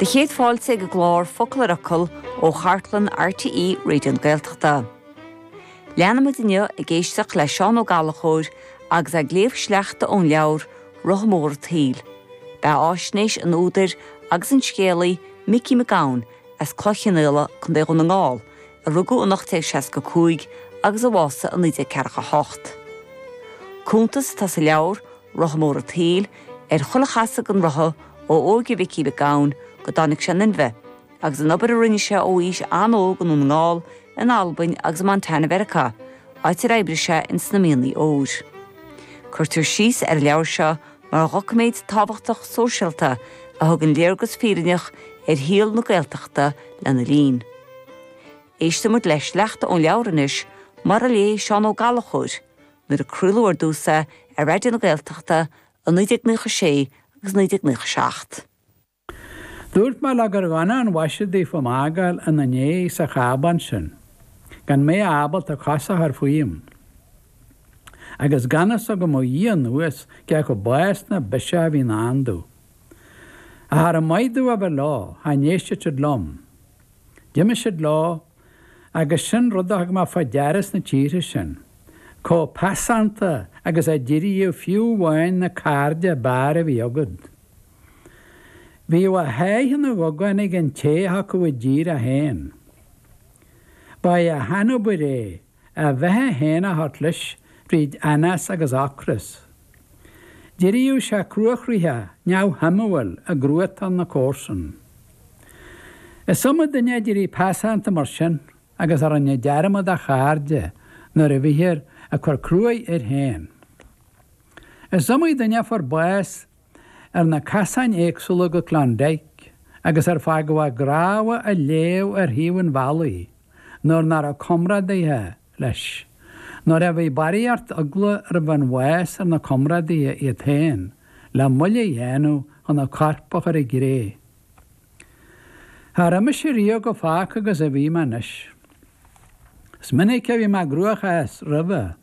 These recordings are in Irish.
Do chéad fáilte ag an gclár Focal ar Fhocal ó chartlann RTÉ Raidió na Gaeltachta. Leanfaidh muid inniu ag éisteacht le Seán Ó Gallchóir agus é ag léamh sleachta ón leabhar Rotha Mór an tSaoil, beatháisnéis an údair agus an scéalaí Micí Mac Gabhann as Cloich Chionnaola, Co. Dhún na nGall, a rugadh in 1865 agus a bhásaigh in 1948. Cuntas atá sa leabhar Rotha Mór an tSaoil ar chuile chasadh den rotha ó óige Mhicí Mhic Gabhann go dtáinig sé in inmhe, agus an obair a rinne sé ó aois an-óg i nDún na nGall, in Albain agus i Montana Mheiriceá, áit ar oibrigh sé ins na mianaigh óir. Cuirtear síos ar an leabhar seo mar dhoiciméad tábhachtach sóisialta a thugann léargas fírinneach ar shaol na Gaeltachta lena linn. Éistfidh muid le sleachta ón leabhar anois mar a léigh Seán Ó Gallchóir nuair a craoladh ar dtús é ar Raidió na Gaeltachta i 1996 agus 1997. Dúirt mé leo gur dhona an mhaise daofa m'fhágáil ina ndiaidh sa chábán sin, gan mé ábalta cos a chur fúm, agus gan fhios agam ó Dhia anuas cé acu bás ná biseach a bhí i ndán domh. Ach char mhaith domh a bheith leo, cha n-éistfeadh siad liom. D'imigh siad leo, agus sin rud a thug mé fá deara sna tíortha sin, chomh peasánta agus a d'éiríodh fiú amháin na cairde ab fhearr a bhí agat. Bhíodh a sháith ina ghogáin ag an té a thiocfadh i dtír é féin. Ba é a shainobair é a bheatha féin a thabhairt leis fríd anás agus ocras. D'éiríodh sé cruachroítheach neamhshuimiúil i gcruatan na comharsan. Is iomaí duine a d'éirigh peasánta mar sin agus a rinne dearmad dá chairde nuair a bhíthear ag cur cruaidh air féin. Is iomaí duine a fuair bás ar na casáin éagsúla go Klondike agus ar fágadh a gcnámha ag léamh ar thaobh an bhealaigh nuair nach raibh comrádaithe leis, nuair a bhí barraíocht eagla roimh an bhás ar na comrádaithe iad féin le moill a dhéanamh chun an corp a chur i gcré. Cha raibh mise riamh chomh fágtha agus a bhí mé anois. Is minic a bhí mé i gcruachás roimhe,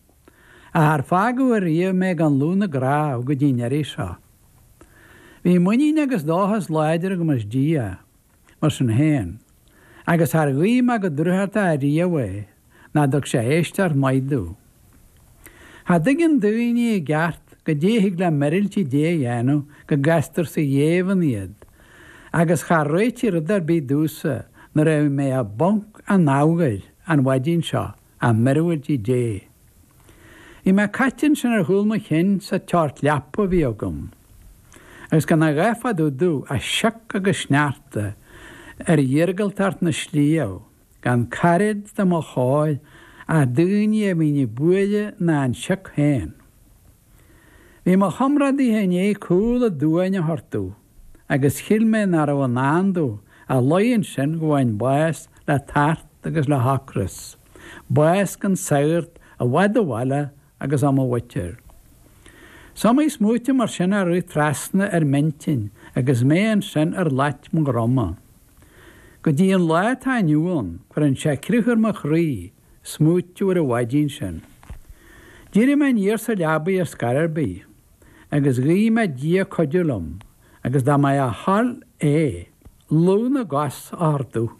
ach char fágadh ariamh mé gan lúth na gcnámh go dtí an iarraidh seo. Bhí muinín agus dóchas láidir agam as Dia, mar sin féin, agus char ghuigh mé go drúchtach ariamh é, ná dtug sé éisteacht mhaith domh. Cha dtuigeann daoine i gceart goidé a thig le míorúiltí Dé a dhéanamh go gcastar sa ghéibheann iad, agus char réitigh rud ar bith domhsa nuair a bhí mé i bponc an amhacair an mhaidin seo ach míorúiltí Dé. Bhí mé caite ansin ar chúl mo chinn sa tseort leapa a bhí agam, agus gan a dhath fá dtaobh domh ach sioc agus sneachta ar iargúltacht na sliabh. gan caraid do mo chóir ach daoine a bhíonn ag bualadh ná an sioc féin. Bhí mo chomrádaithe i ndiaidh cúl aduain a thabhairt domh agus shíl mé nach raibh i ndán domh ach luí ansin go bhfaighinn bás le tart agus le hocras, bás gan sagart i bhfad ó bhaile agus ó mo mhuintir. Is iomaí smaoitiú mar sin a rith trasna ar m'intinn agus mé ansin ar lait mo dhroma. Go dtí an lá atá inniu ann, cuireann sé crith ar mo chroí smaoitiú ar an mhaidin sin. D'éirigh mé aniar sa leabaidh ar scor ar bith, agus ghuigh mé Dia cuidiú liom, agus dá mba é a thoil é, lúth na gcos a thabhairt domh,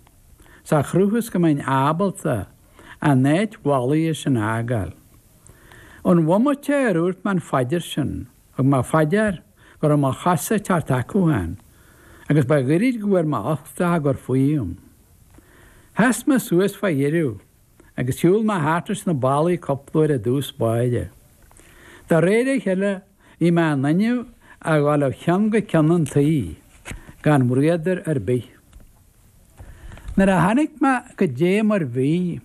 sa chruth is go mbeinn ábalta an áit mhallaithe sin a fhágáil. Ón bhomaite ar dhúirt mé an phaidir sin, Thug mé fá dear go raibh mo chosa ag teacht acu féin, agus ba ghoirid go bhfuair mé uchtach á gcur fúm. Sheas mé suas fá dheireadh agus shiúil mé thart leis na ballaí cúpla uair i dtús báire. De réir a chéile bhí mé in innimh a dhul ó cheann go ceann an tí gan bhruadar ar bith. Nuair a chonaic mé goidé mar bhí,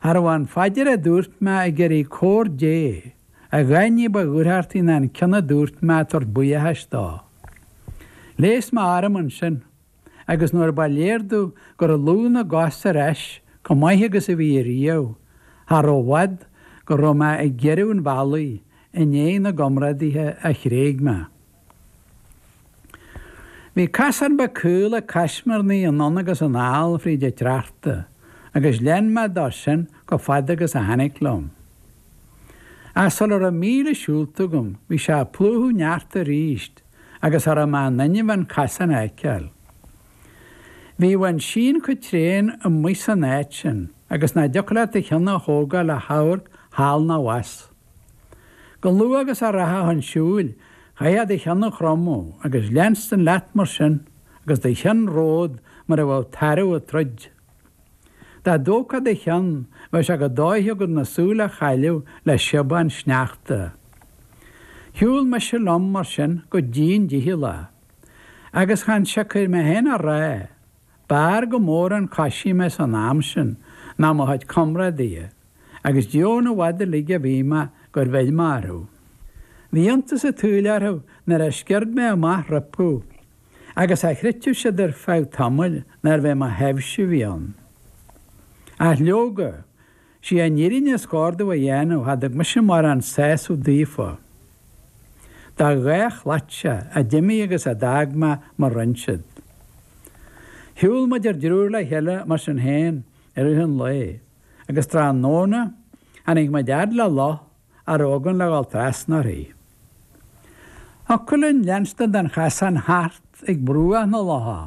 Cha raibh an phaidir a dúirt mé ag iarraidh comhair Dé a dhath ní ba dhúthrachtaí ná an ceann a dúirt mé ag tabhairt buíochais dó. Leigheas mé orm ansin agus nuair ba léir domh go raibh lúth na gcos ar ais chomh maith agus a bhí ariamh, cha raibh i bhfad go raibh mé ag deireadh an bhealaigh i ndiaidh na gcomrádaithe a thréig mé. Bhí casán beag caol ag caismirnigh anonn agus anall fríd an tsneachta agus lean mé dó sin chomh fada agus a tháinig liom. Ach sula raibh míle siúlta agam bhí sé ag plúchadh neart aríst agus cha raibh mé in innimh an casán a fheiceáil. Bhíodh an síon chomh tréan amuigh san áit sin agus nach dtiocfadh leat do cheann a thógáil le hamharc thall ná abhus. Chomh luath agus a rachfá chun siúil, chaithfeá do cheann a chromadh agus leanstan leat mar sin agus do cheann romhat mar a bheadh tarbh ag troid. Dá dtógfá do cheann, bheadh sé chomh dóichí agat na súile a chailleadh le siobán sneachta. Shiúil mise liom mar sin go dian dícheallach. Agus chan siocair mé féin a rá, b'fhearr go mór an coisí mé san am sin ná mo chuid comrádaithe, agus deamhan i bhfad uilig a bhí mé gur mhill mé orthu. Bhí iontas an tsaoil orthu nuair a sciorr mé amach rompu, agus cha chreidfeadh siad ar feadh tamaill nárbh é mo thaibhse a bhí ann. Ach leoga, Sí an fhírinne is cóir domh a dhéanamh, cha dtug mise mórán sásamh daofa. De dhá shlait-se a d'imigh agus a d'fhág mé mar rinn siad. Shiúil muid ár dtriúr le chéile mar sin féin i rith an lae, agus tráthnóna tháinig muid fhad le loch a raibh againn le dhul trasna uirthi. Thiocfadh linn leanstan den chasán thart ag bruach na locha,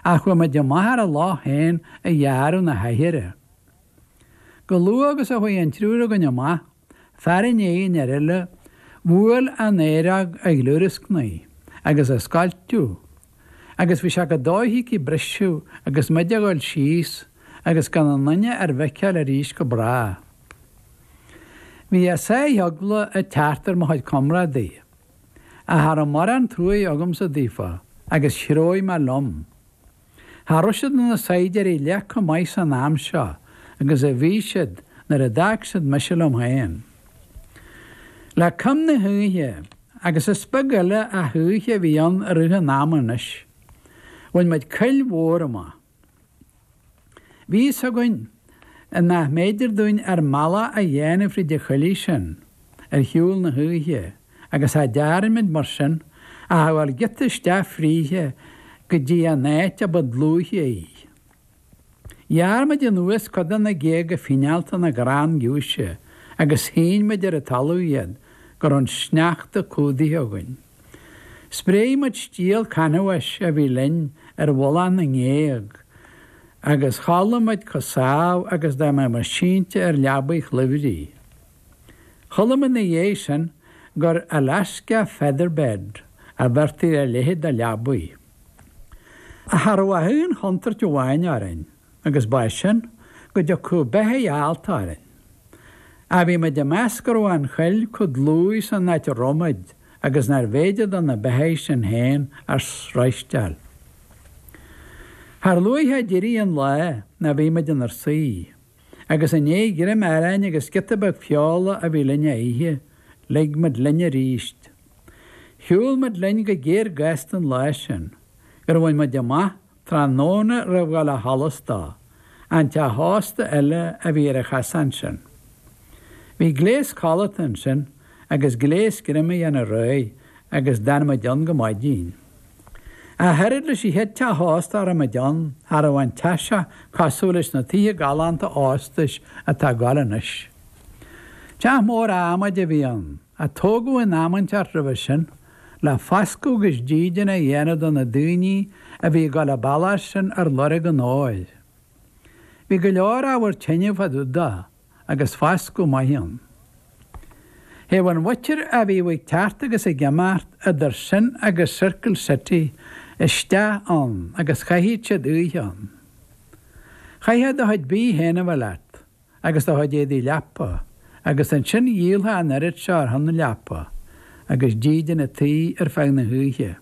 ach chuaigh muid amach ar an loch féin a ghearradh na hoighre. Chomh luath agus a chuaigh an triúr againn amach, fear i ndiaidh an fhir eile, bhuail an aeróg a ghliúrascnaigh agus a scoilteadh agus bhí sé chomh dóichí aici briseadh agus muid a dhul síos agus gan aon duine ár bhfeiceáil arís go bráth. Bhí a sáith eagla ag teacht ar mo chuid comrádaithe, ach cha raibh mórán truaighe agamsa daofa agus threabh mé liom. Cha raibh siad ina saighdiúirí leath chomh maith san am seo agus a bhí siad nuair a d'fhág siad mise liom féin. Le coim na hoíche, agus is beag eile ach oíche a bhí ann i rith an ama anois, bhain muid coill mhór amach. Bhí fhios againn nach mb'fhéidir dúinn ár mbealach a dhéanamh fríd an choillidh sin ar shiúl na hoíche agus cha dtearn muid mar sin ach a ghabháil giota isteach fríthi go dtí an áit a ba dlúithe í. Ghearr muid anuas cuid de na géaga fíneálta na gcrann giúise agus shín muid ar an talamh iad go raibh an sneachta cumhdaithe againn. Spréigh muid stiall canbháis a bhí linn ar mhullach na ngéag agus chodlaigh muid chomh sámh agus dá mbeadh muid sínte ar leabaidh chluimhrí. Chuala mé ina dhiaidh sin gur Alaska feather bed a bheirtí ar a leithéid de leabaidh. Ach cha raibh ach aon chontúirt amháin orainn agus ba é sin go dtiocfadh beithígh allta orainn. Ach bhí muid ag meas go raibh an choill chomh dlúith san áit a raibh muid agus nárbh fhéidir do na beithígh sin féin ár sroisteáil. Char luaithe a d'éirigh an lá ná bhí muid inár suí, agus i ndiaidh greim aráin agus giota beag feola a bhí linn a ithe, lig muid linn aríst. Shiúil muid linn go géar gasta an lá sin, gur bhain muid amach tráthnóna roimh dhul a sholas dó, an teach ósta eile a bhí ar an chasán sin. Bhí gléas codlata ansin agus gléas greim a dhéanamh réidh agus d'fhan muid ann go maidin. Ach oiread leis an chéad teach ósta a raibh muid ann, cha raibh an teach seo cosúil leis na tithe galánta óstais atá ag gabháil anois. Teach mór adhmaid a bhí ann, a tógadh in am inteacht roimhe sin, le foscadh agus dídean a dhéanamh do na daoine a bhí ag dul an bealach sin ar lorg an óir. Bhí go leor ábhar tine fá dtaobh dó agus foscadh maith ann. Théadh an mhuintir a bhíodh ag teacht agus ag imeacht idir sin agus Circle City isteach ann agus chaitheadh siad oíche ann. Chaithfeá do chuid bídh féin a bheith leat. agus do chuid éadaí leapa, agus ansin dhíolfá an oiread seo ar shon na leapa, agus dídean an tí ar feadh na hoíche.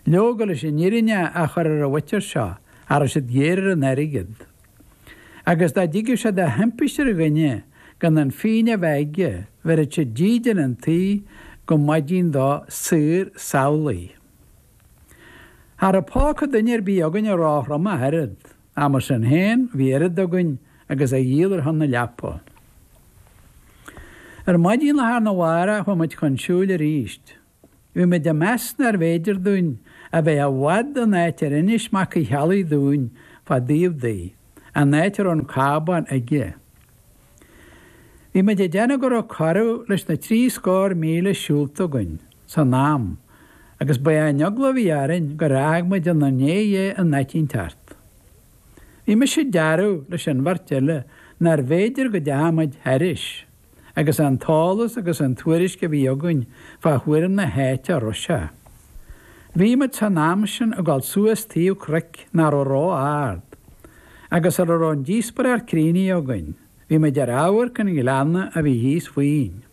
Leoga, leis an fhírinne a chur ar an mhuintir seo, cha raibh siad géar ar an airgead. Agus dá dtigeadh sé de thimpiste ar dhuine gan an phingin a bheith aige, bheireadh siad dídean an tí go maidin dó saor samhlaidh. Cha raibh póca duine ar bith againne róthrom ach oiread. Ach mar sin féin, bhí oiread againn agus a dhíol ar shon na leapa. Ar maidin lá arna mhárach chuaigh muid chun siúil arís. Bhí muid ag meas nárbh fhéidir dúinn a bheith i bhfad ón áit ar inis Mac Uí Cheallaigh dúinn fá dtaobh di, an áit a raibh an cábán aige. Bhí muid ag déanamh go raibh corradh leis na 70 míle siúlta againn san am. Agus ba é an eagla a bhí orainn gur fhág muid inár ndiaidh é in áit inteacht. Bhí mise dearbh leis an bheirt eile nárbh fhéidir go dteachaidh muid thairis, agus an t-eolas agus an tuairisc a bhí againn fá thuairim na háite a raibh sé. Bhí muid san am sin ag dul suas taobh cnoic nach raibh ró-ard, agus sula raibh an díospóireacht críochnaithe againn, bhí muid ar amharc an ghleanna a bhí thíos fúinn.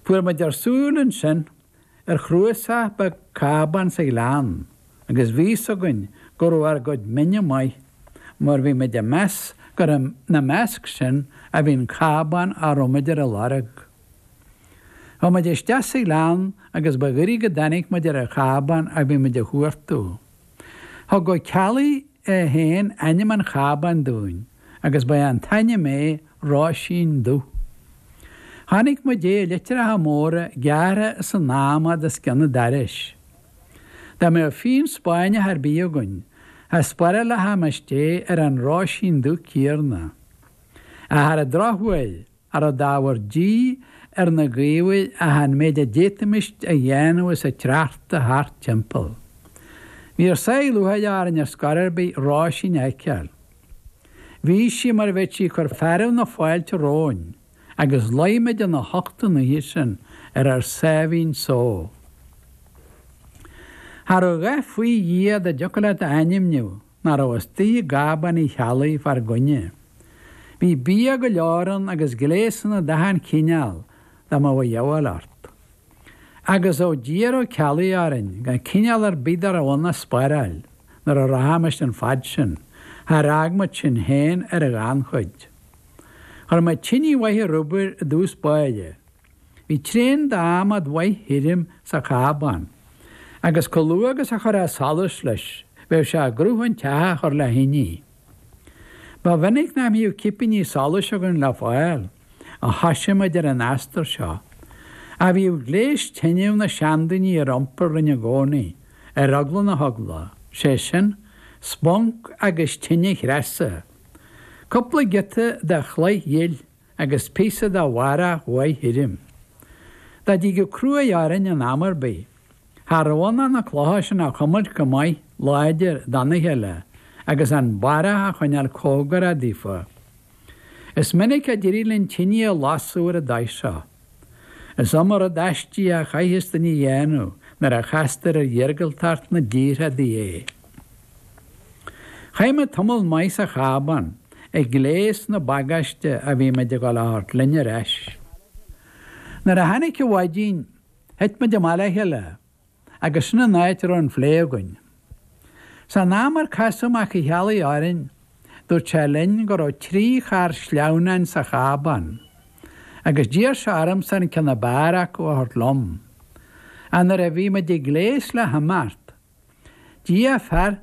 Fuair muid ár súil ansin ar chnuasach beag cábán sa ghleann agus bhí fhios againn go raibh ár gcuid mine maith mar bhí muid ag meas gur ina measc sin a bhí an cábán a raibh muid ar a lorg. Chuaigh muid isteach sa ghleann agus ba ghoirid go dtáinig muid ar an chábán a bhí muid a chuartú. Thug Ó Ceallaigh é féin ainm an chábáin dúinn agus ba é an t-ainm é Róisín Dubh. Chonaic muid é i litreacha móra gearrtha san adhmad os cionn an dorais. Dá mbeadh fíon Spáinneach ar bith againn, cha spárálfaimis é ar an Róisín Dubh céarna. Ach ar an drochuair, Cha raibh d'ábhar díth ar na gaobhair ach an méid a d'fhéadfaimis a dhéanamh is a treachtadh thart timpeall. Bhí ár sáith lúcháire orainn ar scor ar bith Róisín a fheiceáil. Bhí sí mar a bheadh sí ag cur fearadh na fáilte romhainn agus luigh muid ina hucht an oíche sin ar ár sáimhín só. Cha raibh a dhath faoi Dhia dá dtiocfadh leat a ainmniú nach raibh istigh i gcábán Uí Cheallaigh fár gcoinne. Bhí bia go leor ann agus gléasanna d'achan chineál dá mbeadh a dhíobháil ort. Agus bheadh d'iarr Ó Ceallaigh orainn gan cineál ar bith dá raibh ann a spáráil nuair a rachaimis an fad sin, char fhág muid sinn féin ar an ghannchuid. Chuir muid tinidh mhaith ar obair i dtús báire. Bhí tréan d'adhmad mhaith thirim sa chábán, agus chomh luath agus a chuirfeá solas leis, bheadh sé i gcruth an teach a chur le thine. Ba mhinic nach mbíodh cipíní solais againn le fáil, ó thoisigh muid ar an aistear seo. Ach bhíodh gléas tineadh na seandaoine ar iompar linn i gcónaí, ar eagla na heagla, sé sin, sponc agus tine chreasa, cúpla giota de chloich ghil agus píosa de bharrach mhaith thirim. Dá dtigeadh cruaidh orainn in am ar bith, cha raibh ann ach na clocha sin a chuimilt go maith láidir dona chéile agus an barrach a choinneáil cóngarach daofa. Is minic a d'éirigh linn tinidh a lasadh ar an dóigh seo. Is iomaí rud aisteach a chaitheas duine a dhéanamh nuair a chastar ar iargúltacht na dtíortha é. Chaith muid tamall maith sa chábán ag gléas na bagáiste a bhí muid ag dul a thabhairt linn ar ais. Nuair a tháinig an mhaidin, thit muid amach le chéile agus sin an áit a raibh an phlé againn. San am ar casadh Mac Uí Cheallaigh orainn, dúirt sé linn go raibh 3 charr sleamhnáin sa chábán agus d'iarr sé ormsa an ceann ab fhearr acu a thabhairt liom. Ach nuair a bhí muid ag gléas le himeacht, D'iarr fear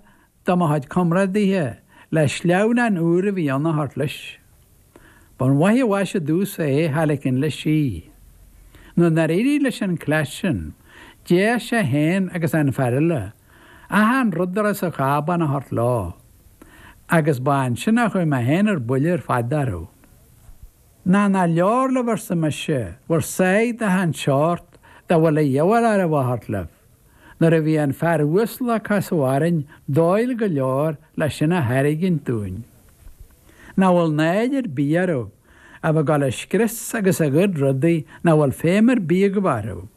de mo chuid comrádaithe le sleamhnán úr a bhí ann a thabhairt leis. Ba mhaith an mhaise domhsa é cha ligint leis í. Nuair nár éirigh leis an cleas sin, d'iarr sé féin agus an fear eile achan rud a raibh sa chábán a thabhairt leo, agus ba ansin a chuaigh mé féin ar buile ar fad orthu. Ná nach leor libh, arsa mise, bhur sáith d'achan seort dá bhfuil a dhíobháil oraibh a thabhairt libh. Nuair a bhí an fear uasal a casadh orainn dóighiúil go leor le sin a thairgint dúinn. Nach bhfuil náire ar bith oraibh a bheith ag dul ag scrios agus ag goid rudaí nach bhfuil feidhm ar bith agaibh orthu,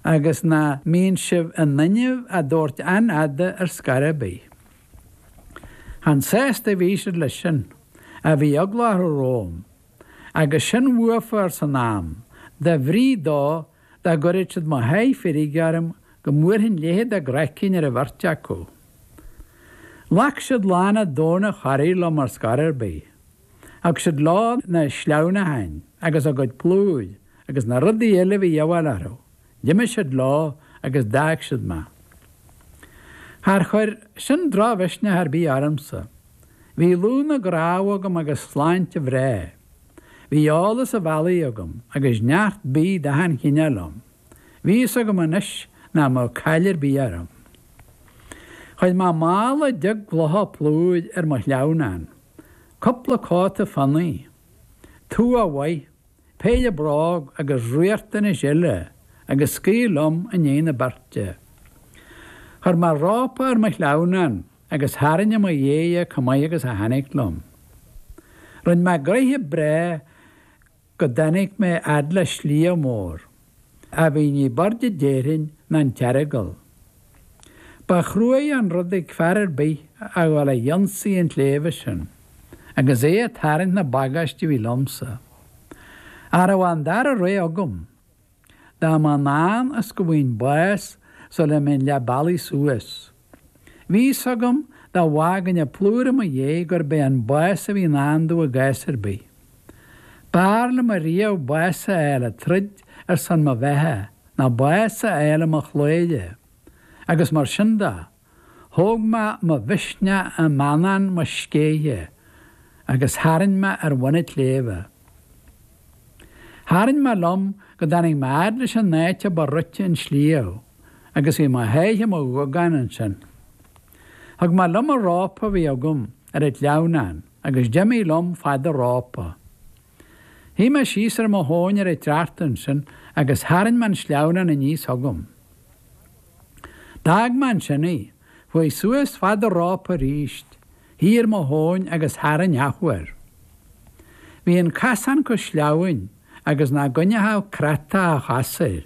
agus nach mbíonn sibh in innimh a dtabhairt an-fhada ar scor ar bith. Chan sásta a bhí siad leis sin, ach bhí eagla orthu romham. Agus sin uafa arsan am, de bhrí dó Dá gcuirfeadh siad mo sháith feirge orm go mbuailfinn leithead a gcraicinn ar an bheirt acu. Ghlac siad lán an domhain a chorraí liom ar scor ar bith. Thug siad leo na sleamhnacháin agus a gcuid plúir agus na rudaí eile a bhí a dhíobháil orthu. D'imigh siad leo agus d'fhág siad mé. Char chuir sin drochmhisneach ar bith ormsa. Bhí lúth na gcnámh agam agus sláinte bhreá. Bhí eolas an bhealaigh agam agus neart bídh d'achan chineál liom. Bhí fhios agam anois nach mbeadh caill ar bith orm. Chuir mé mála beag clocha plúir ar mo shleamhnán, cúpla cóta fionnaidh, tua mhaith, péire bróg agus riachtanais eile. agus scaoil liom i ndiaidh na beirte. Chuir mé rópa ar mo shleamhnán agus tharraing i mo dhiaidh é chomh maith agus a tháinig liom. Rinne mé gnoithe breá go dtáinig mé fhad le sliabh mór, a bhí ní b'airde déarfainn ná an tEaragail. Ba chruaidh an rud ag fear ar bith a ghabháil a dh'ionsaí an tsléibhe sin, agus é ag tarraingt na bagáiste a bhí liomsa. Cha rabh an dara rogha agam. Dá mba i ndán is go bhfaighinn bás sula mbeinn leath bealaigh suas. Bhí fhios agam dá bhfágainn an plúr i mo dhiaidh gurb é an bás a bhí i ndán domh i gcás ar bith. B'fhearr liom ariamh bás a fháil ag troid ar son mo bheatha ná bás a fháil i mo chladhaire. Agus mar sin de, thóg mé mo mhisneach i meannán mo scéithe agus tharraing mé ar bhun an tsléibhe. Tharraing mé liom go dtáinig mé fhad leis an áit a ba rite an sliabh agus bhí mo sháith i mo ghuagán ansin. Thug mé liom an rópa a bhí agam ar an tsleamhnán agus d'imigh liom fad an rópa. Shuigh mé síos ar mo thóin ar an tsneachta ansin agus tharraing mé an sleamhnán aníos chugam. D'fhág mé ansin é, chuaigh suas fad an rópa arís, shuigh ar mo thóin agus tharraing athuair. Bhí an casán chomh sleamhain agus nach gcoinneochadh creatach a chos air,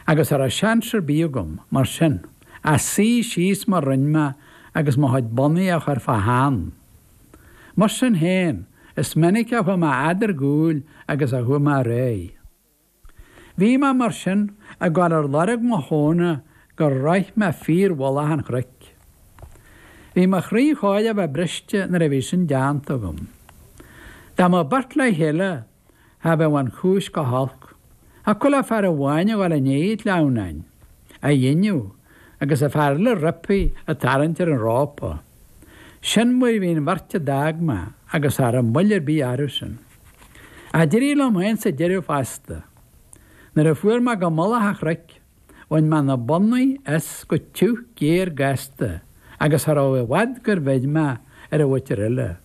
agus cha raibh seans ar bith agam, mar sin, ach suí síos mar rinn mé agus mo chuid bonnaí a chur fá theann. Mar sin féin, is minic a chuaigh mé fhad ar gcúl agus a chuaigh mé ar aghaidh. Bhí mé, mar sin, ag dul ar lorg mo thóna gur shroich mé fíor-mhullach an chnoic. Bhí mo chroí chóir a bheith briste nuair a bhí sin déanta agam. Dá mbeadh beirt le chéile, cha bheadh an chúis go holc. Thiocfadh le fear amháin a dhul i ndiaidh an tsleamhnáin, á dhéanamh, agus an fear eile roimpi ag tarraingt ar an rópa. Sin mar a bhí an bheirt a d'fhág mé agus cha raibh moill ar bith orthu sin. Ach d'éirigh liom féin sa deireadh fosta. Nuair a fuair mé go mullach an chnoic, bhain mé na bonnaí as go tiugh géar gasta agus cha raibh i bhfad gur bheir mé ar an mhuintir eile.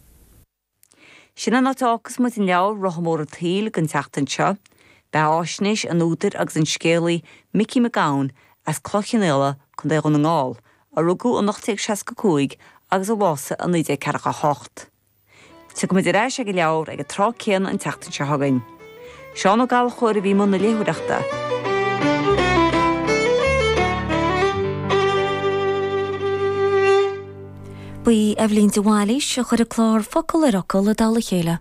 Sin an áit a fhágfas muid an leabhar Rotha Mór an tSaoil don tseachtain seo. Beatháisnéis an údair agus an scéalaí Micí Mac Gabhann as Cloich Chionnaola, Co. Dhún na nGall, a rugadh in 1865 agus a bhásaigh i 1948. Tiocfaimid ar ais ag an leabhar ag an tráth céanna an tseachtain seo chugainn. Seán Ó Gallchóir a bhí i mbun na léitheoireachta. Ba í Eibhlín de Bhailís a chuir an clár Focal ar Fhocal i dtoll a chéile.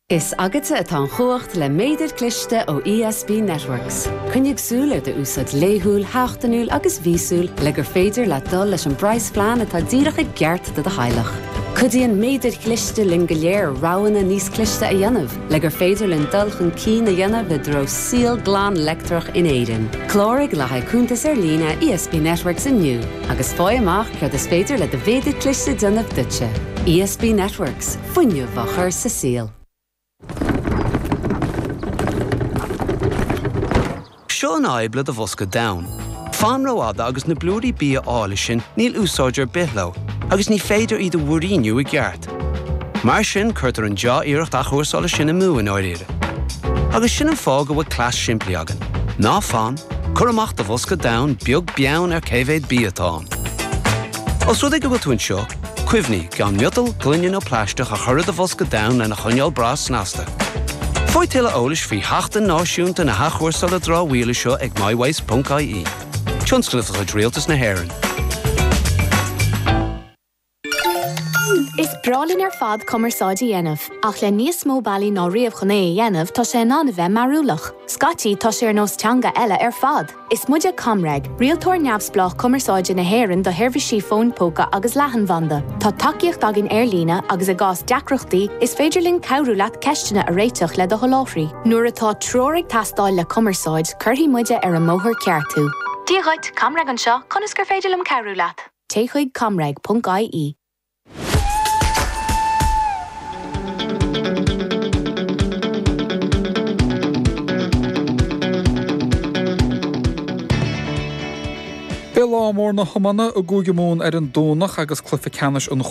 Is agatsa atá an chumhacht le méadar cliste ó ESB Networks. Coinnigh súil ar d'úsáid laethúil, sheachtainiúil agus mhíosúil le gur féidir leat dul leis an bpraghasphlean atá díreach i gceart do do theaghlach. Cuidíonn méadair chliste linn go léir roghanna níos cliste a dhéanamh le gur féidir linn dul chun cinn a dhéanamh i dtreo saol glan leictreach in Éirinn. Cláraigh le haghaidh cuntas ar líne ESB Networks inniu agus faigh amach céard is féidir le do mhéadar cliste déanamh duitse. ESB Networks, fuinneamh á chur sa saol. Seo an fhadhb le do bhosca donn. Fan rófhada agus na blúirí bia áille sin níl úsáid ar bith leo agus ní féidir iad a mhúiríniú i gceart. Mar sin cuirtear an dea-iarracht athchúrsála sin amú i ndáiríre. Agus sin an fáth go bhfuil cleas simplí againn. Ná fan, cuir amach do bhosca donn beag beann ar cé mhéad bia atá ann. Os rud é go bhfuil tú anseo, cuimhnigh gan miotal, gloine nó plaisteach a chur i do bhosca donn lena choinneáil breá snasta. Faigh tuilleadh eolais faoi Sheachtain Náisiúnta na hAthchúrsála Dramhaíola seo ag mywaste.ie. Tionscnamh de chuid Rialtas na hÉireann. Is breá linn ar fad cumarsáid a dhéanamh, ach le níos mó bealaí ná riamh chun é a dhéanamh, tá sé in ann a bheith mearúlach. Scaití, tá sé ar nós teanga eile ar fad! Is muide ComReg, rialtóir neamhspleách cumarsáide na hÉireann do sheirbhísí fóin póca agus leathanbhanda. Tá tacaíocht againn ar líne agus i gcás deacrachtaí, is féidir linn cabhrú leat ceisteanna a réiteach le do sholáthraí. Nuair atá treoir ag teastáil le cumarsáid, cuirfidh muide ar an mbóthar ceart thú. Dia dhuit, ComReg anseo, conas gur féidir liom cabhrú leat? Téigh chuig comreg.ie. Beidh lá mór na hiomána i gCúige Mumhan ar an Domhnach agus cluiche ceannais an.